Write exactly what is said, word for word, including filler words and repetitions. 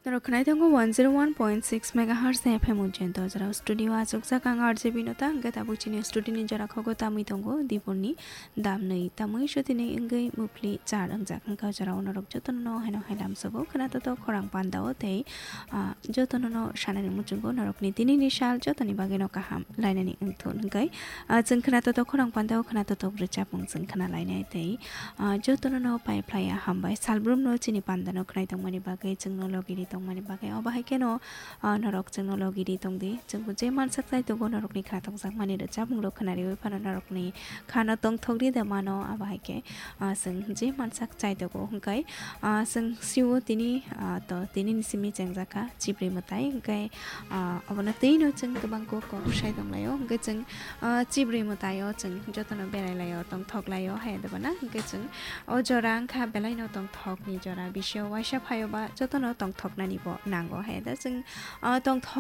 Norok khwnai tongo one zero one point six megahertz ni F M Ujjain to jora studio achukjak ang R J Binota, hwnkhe tabuk chini studio ni jora khogo tamwi tongo Dipurni damnwi tamwi sotini wngwi mupli char wngjak, hwnkhe o jorao norok jotono haino hai lamsogo khwnato to khorang pandao tei, ah, jotono no sanani muchungo norokni tinini sal jotoni bagwino kaham lainani wngthun hwnkhe, ah, chwng khwnato to khorang pandao khwnato to rwchapmung chwng khwnalainai tei, ah, jotono no pai phlai ya hambai. Salbrum no chini panda no khwnai tongmani bagwi, chwngno logi ri tongmani bagwi. Obo hai kheno, ah, norok chwngno logi ri tongdi. Chwngbo je mansak chai tongo norokni khwnathok jakmani rwchapmung rok khwnariwi phano norokni khano tongthok ri de mano. Abo hai khe, ah, chwng je mansak chai tongo hwnkhe, ah, chwng sio tini, ah, to tini ni simi chengjak kha chibri mwtai hwnkhe, ah, obono twi no chwng kwbang kok kok sai tong laio hwnkhe chwng, ah, chibri mwtai o chwng jotono berai laio tongthok laio hai de bana hwnkhe chwng o jora wngkha belai no tongthok ni jora bisio waisa phaio ba jotono tongthok nani bo nango hai da chwng, ah, tongthok